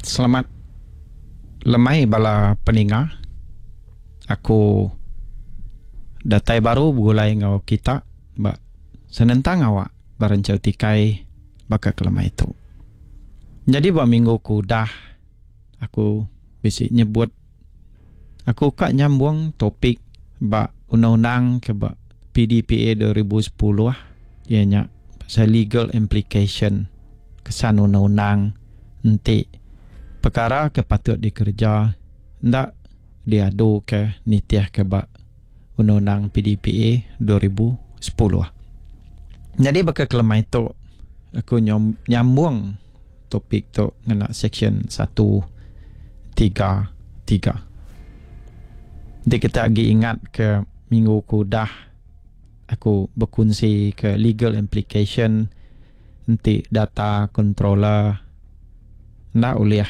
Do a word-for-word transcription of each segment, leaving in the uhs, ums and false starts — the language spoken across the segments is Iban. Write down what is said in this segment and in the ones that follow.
Selamat lemai bala peninga. Aku datai baru begulai enggau kita ba senentang awak ba renchau tikai baka ke lemai tu. Nyadi ba minggu ke udah aku bisi nyebut aku ka nyambung topik ba undang-undang ke ba P D P A dua ribu sepuluh, iya nya pasal legal implication, kesan undang-undang enti perkara ke patut dikereja enda diadu ke nitih ke ba undang-undang P D P A dua ribu sepuluh. Jadi baka ke lemai tu aku nyambung topik tu ngena section satu tiga tiga. Jadi kita lagi ingat ke minggu ke udah aku berkongsi ke legal implication enti data controller enda ulih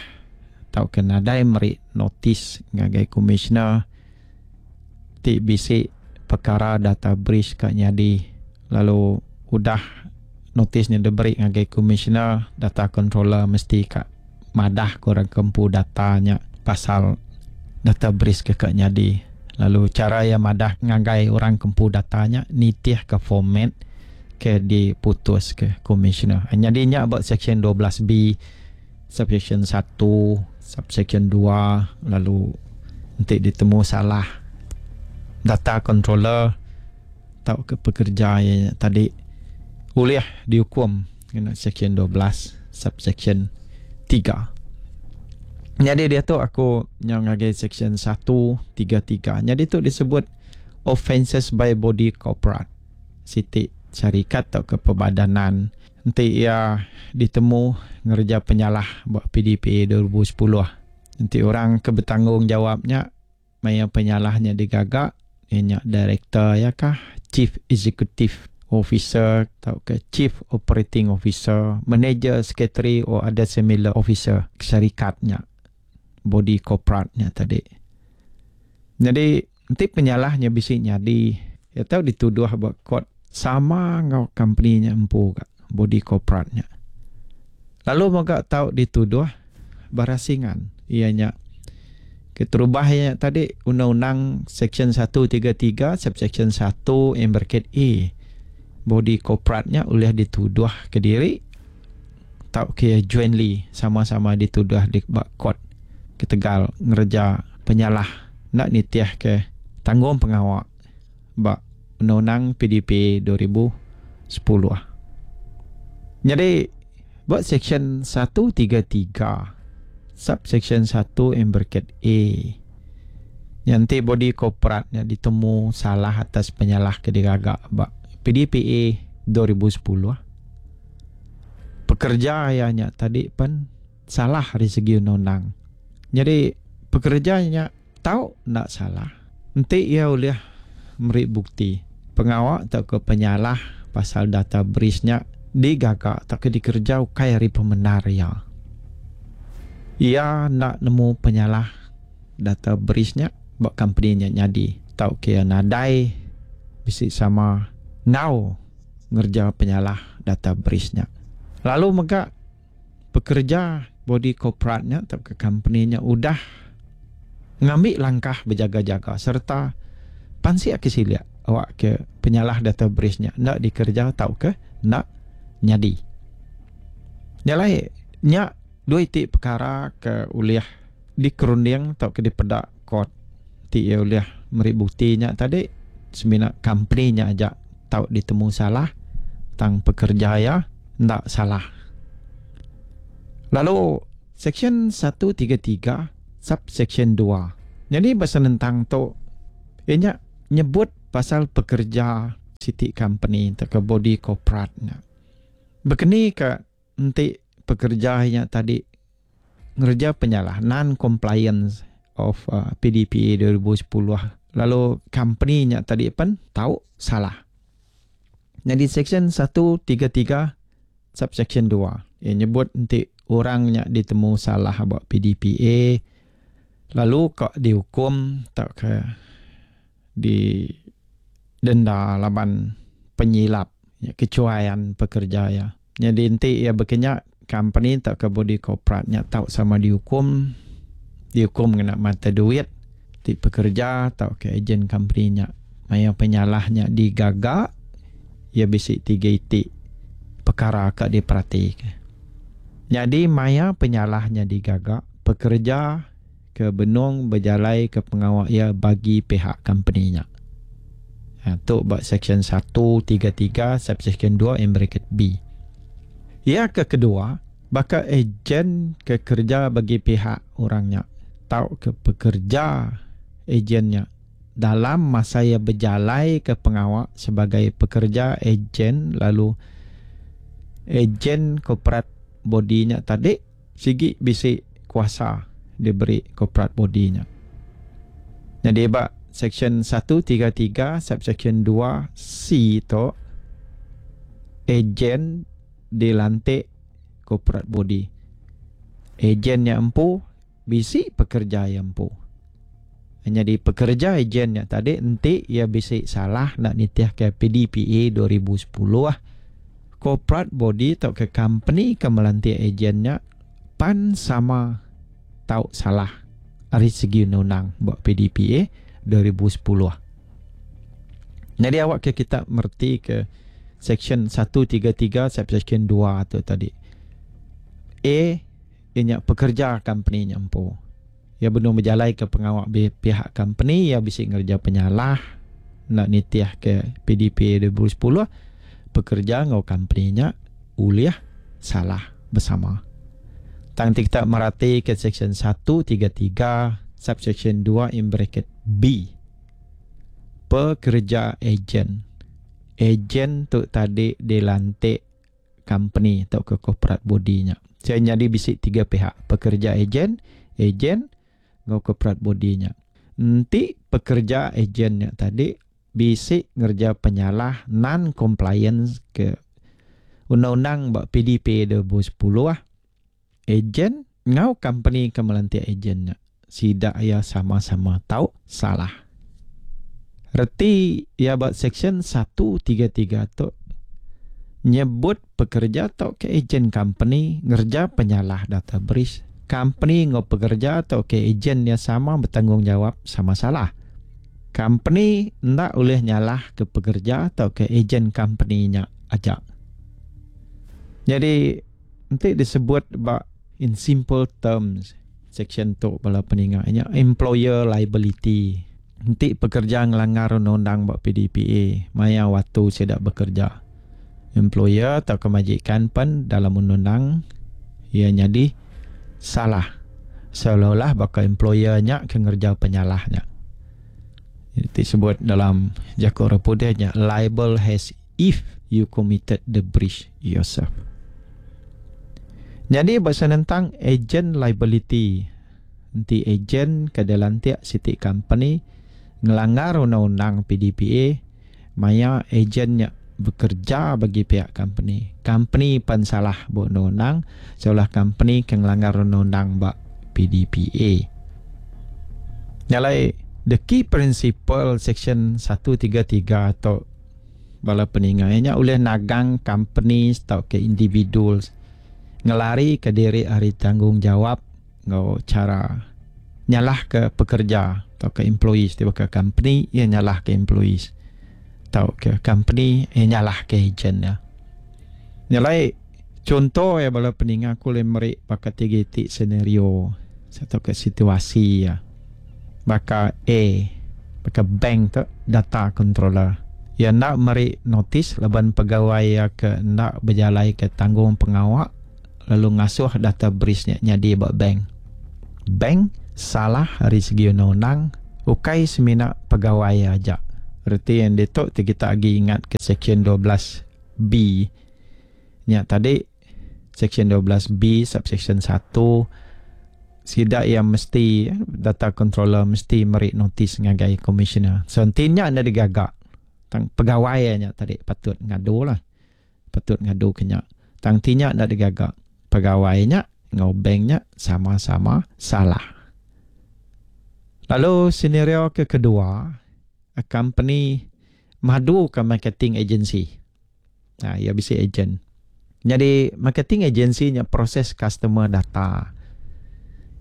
tau ke nadai meri notis ngagai commissioner ti bisi perkara data breach ka nyadi. Lalu udah notisnya diberi ngagai commissioner, data controller mesti ka madah ke orang ke empu datanya pasal data breach ke ka nyadi. Lalu cara yang madah ngagai orang ke empu datanya nitih ke format ke diputus ke commissioner. Jadi nya buat section dua belas B subsection satu subsection dua. Lalu nanti ditemu salah data controller atau ke pekerja yang tadi boleh dihukum kena section dua belas subsection tiga. Jadi dia tu aku yang ngagai section satu tiga tiga. Jadi tu disebut offences by body corporate. Siti syarikat atau ke perbadanan nanti ia ditemu ngerja penyalah buat P D P A dua ribu sepuluh. Nanti orang ke bertanggungjawabnya maya penyalahnya digagak ianya director ya kah, chief executive officer atau ke chief operating officer, manager, secretary or other similar officer syarikatnya, body corporate-nya tadi. Jadi nanti penyalahnya bisi nyadi ya tahu dituduh buat court sama ngau company-nya empu ka body corporate-nya. Lalu moga tahu dituduh berasingan, ianya keterubah ya tadi undang-undang section satu tiga tiga subsection satu in bracket A, body corporate-nya boleh dituduh ke diri tau ke jointly, sama-sama dituduh di court ketegal ngereja penyalah nak nitiah ke tanggung pengawak bak undang-undang P D P dua ribu sepuluh. Jadi buat section satu tiga tiga subsection satu in bracket A, nanti body corporate nya ditemu salah atas penyalah ke digagak bak P D P A dua ribu sepuluh, pekerja nya tadi pun salah dari segi undang-undang. Jadi pekerjanya tahu nak salah nanti ia boleh meri bukti pengawak atau ke penyalah pasal data breach-nya digagak atau ke dikerja ukai hari pemenar ya. Ia nak nemu penyalah data breach-nya buat company-nya nyadi tau ke nadai bisi sama ngau ngerja penyalah data breach-nya. Lalu mega pekerja body corporate-nya atau ke company-nya udah ngambil langkah berjaga-jaga serta pansik ke siliak awak ke penyalah data breach-nya nak dikerja tau ke nak nyadi. Nyalai nya dua itik perkara ke uliah dikerunding atau ke dipedak court ti ia uliah meri buktinya tadi semina company-nya aja tau ditemu salah, tang pekerja ya ndak salah. Lalu section satu tiga tiga subsection dua. Jadi bahasa tentang tu ianya nyebut pasal pekerja siti company atau ke body corporate nya. Begini ke nanti pekerja nya tadi ngerja penyalah non compliance of uh, P D P A dua ribu sepuluh, lalu company nya tadi pun tahu salah. Jadi section satu tiga tiga subsection dua ia nyebut nanti orangnya ditemu salah buat P D P A lalu kok dihukum tak ke di denda laban penyilap ya, kecuaian pekerja ya. Jadi nanti ia berkenyak Company tauka body corporate nya tau sama diukum, diukum ngena mata duit ti pekerja tauka ejen company nya maya penyalah nya digaga iya bisi tiga iti pekara ka diperatika. Nyadi maya penyalah nya digaga, pekerja ke benung bejalaika pengawa iya bagi pihak company nya. Ha, tu ba section satu tiga tiga subsection dua in bracket B. Iya ke kedua, baka ejen ke kerja bagi pihak orang nya tauka pekerja ejen nya dalam masa iya bejalai ke pengawa sebagai pekerja ejen lalu ejen corporate body nya tadi sigi bisi kuasa diberi corporate body nya. Nyadi ba section satu tiga tiga subsection dua C tu ejen dilantik corporate body. Ejen nya empu bisi pekerja iya empu. Nyadi pekerja ejen nya tadi enti iya bisi salah nak nitih ke P D P A dua ribu sepuluh, corporate body tauka company ke melantik ejen nya pan sama tau salah ari segi undang-undang ba P D P A dua ribu sepuluh. Jadi awak ke kita merti ke section satu tiga tiga subsection dua tu tadi. A ianya pekerja company nya empu. Ia benung berjalai ke pengawak pihak company, ia bisi ngerja penyalah nak nitih ke P D P A dua ribu sepuluh, pekerja ngau company nya ulih salah bersama. Tang kita merati ke section satu tiga tiga subsection dua in bracket B. Pekerja ejen. Ejen tu tadi dilantik company atau ke corporate body nya. Saya jadi bisi tiga pihak, pekerja ejen, ejen ngau corporate body nya. Nanti pekerja ejen nya tadi bisi ngerja penyalah non compliance ke undang-undang ba P D P A dua ribu sepuluh ah. Ejen ngau company ke melantik ejen nya sidak ia sama-sama tau salah. Reti ia ba section satu tiga tiga tu nyebut pekerja atau ke ejen company ngerja penyalah data breach. Company ngau pekerja atau ke ejen dia sama bertanggungjawab sama salah. Company ndak boleh nyalah ke pekerja atau ke ejen company nya aja. Jadi nanti disebut ba in simple terms section tu bala peninga nya employer liability. Nanti pekerja ngelanggar undang-undang ba P D P A maya waktu sidak bekerja. Employer atau kemajikan pen dalam undang-undang ia jadi salah. Seolah-olah bakal employer nya ke ngerja penyalahnya. Disebut dalam jakor putihnya liable as if you committed the breach yourself. Jadi bahasa tentang agent liability. Nanti agent ke dalam tiap city company ngelanggar undang-undang P D P A, maya agentnya bekerja bagi pihak company. Company pun salah buat undang-undang, seolah company ke ngelanggar undang-undang bak P D P A. Nyalai the key principle section satu tiga tiga atau bala peninga nya oleh nagang companies atau ke individuals ngelari ke diri hari tanggungjawab ngau cara nyalah ke pekerja atau ke employees, tiba ke company ia nyalah ke employees atau ke company ia nyalah ke agent ya. Nyalai contoh ya bala peninga aku le meri pakai tiga titik senario atau ke situasi ya. Baka A, baka bank tu data controller. Ya nak meri notis laban pegawai ya ke nak berjalai ke tanggung pengawak lalu ngasuh data breach nya nyadi ba bank. Bank salah dari segi undang-undang ukai semina pegawai aja. Reti yang ditok ti kita agi ingat ke section dua belas B nya tadi, section dua belas B subsection satu sidak yang mesti data controller mesti meri notis ngagai commissioner. So intinya anda digagak tang pegawai nya tadi patut ngadu lah. Patut ngadu kenya. Tang tinya anda digagak pegawainya ngau banknya sama-sama salah. Lalu senario ke kedua, a company madu ke marketing agency. Nah, ia bisa agent. Jadi marketing agency nya proses customer data.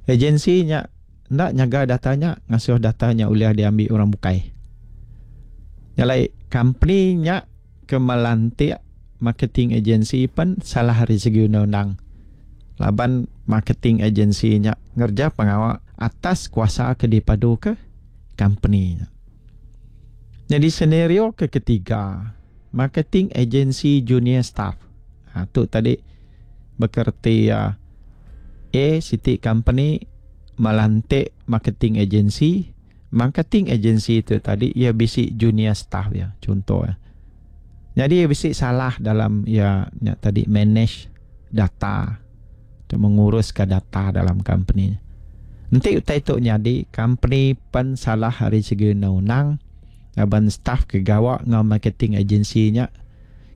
Agensi nya enda nyaga data nya, ngasuh data nya ulih diambil orang bukai. Nyalai company nya ke melantik marketing agency pen salah ari segi undang-undang. Laban marketing agency nya ngerja pengawa atas kuasa ke dipadu ke company nya. Jadi senario ke ketiga, marketing agency junior staff. Ha, tu tadi bekerti ya A City Company melantik marketing agency. Marketing agency tu tadi ia bisi junior staff ya, contoh ya. Jadi ia bisi salah dalam ya nya tadi manage data atau menguruskan data dalam company. Nanti utai tu nyadi company pen salah hari segi undang-undang aban staff ke gawak ngau marketing agency nya.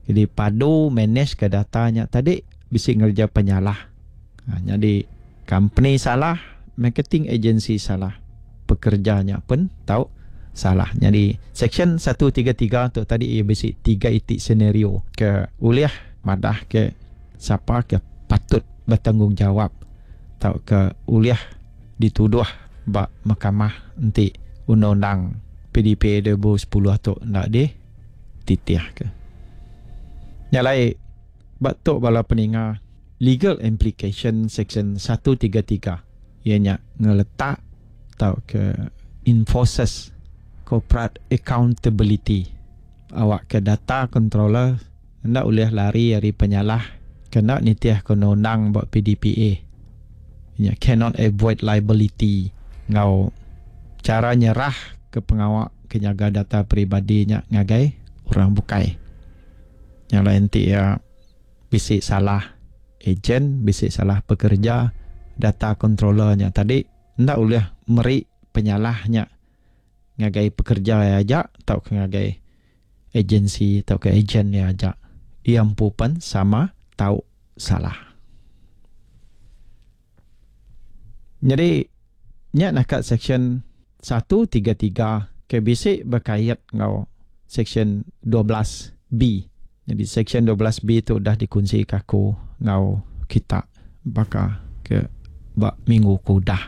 Jadi padu manage ke data nya tadi bisi ngerja penyalah. Ha, jadi company salah, marketing agency salah, pekerjanya pun tahu salah. Jadi section satu tiga tiga tu tadi ia bisi tiga itik senario ke uliah madah ke siapa ke patut bertanggungjawab atau ke uliah dituduh bak mahkamah nanti undang-undang P D P A dua ribu sepuluh tu nak di titiah ke. Nyalai batuk bala peninga legal implication section satu tiga tiga ianya ngeletak atau ke enforces corporate accountability. Awak ke data controller ndak boleh lari dari penyalah kena nitiah ke undang-undang buat P D P A. Ianya cannot avoid liability ngau cara nyerah ke pengawak kenyaga data peribadinya ngagai orang bukai. Yang lain ti ya bisik salah ejen, bisik salah pekerja, data controllernya tadi ndak boleh meri penyalahnya ngagai pekerja ya aja atau ke ngagai agensi atau ke ejen ya aja. Ia empu pan sama tau salah. Jadi nya nak kat section satu tiga tiga ke bisik berkait ngau section dua belas B. Jadi section dua belas B tu dah dikunci kaku ngau kita baka ke bak minggu ku dah.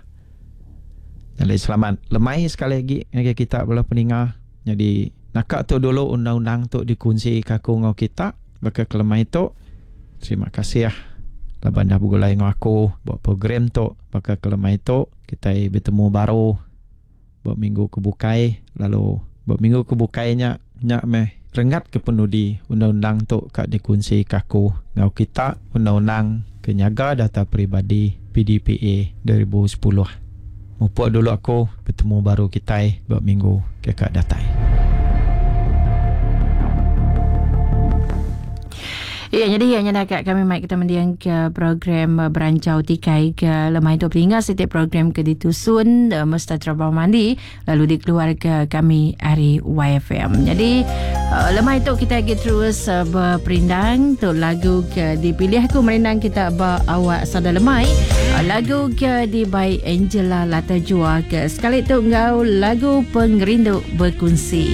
Jadi selamat lemai sekali lagi ngagai kita bala peninga. Jadi nakak tu dulu undang-undang tu dikunci kaku ngau kita baka kelemai tu. Terima kasih ya. Laban dah bergulai ngau aku buat program tu baka kelemai tu. Kita bertemu baru buat minggu kebukai, lalu buat minggu kebukainya nyak meh rengat ke penudi undang-undang tu kat dikunci kaku ngau kita undang-undang kenyaga data peribadi P D P A dua ribu sepuluh. Mupuk dulu aku bertemu baru kita buat minggu ke kat datai. Ya, jadi yang nak kami mai kita mendiang ke program Berancau Tikai ke lemai tu pelinga setiap program ke ditusun uh, mesti terabang mandi lalu dikeluar ke kami hari Y F M. Jadi uh, lemai tu kita lagi terus uh, berperindang tu lagu ke dipilih aku merindang kita ba awak sada lemai uh, lagu ke di by Angela Lata Jua ke sekali tu ngau lagu pengerindu berkunsi.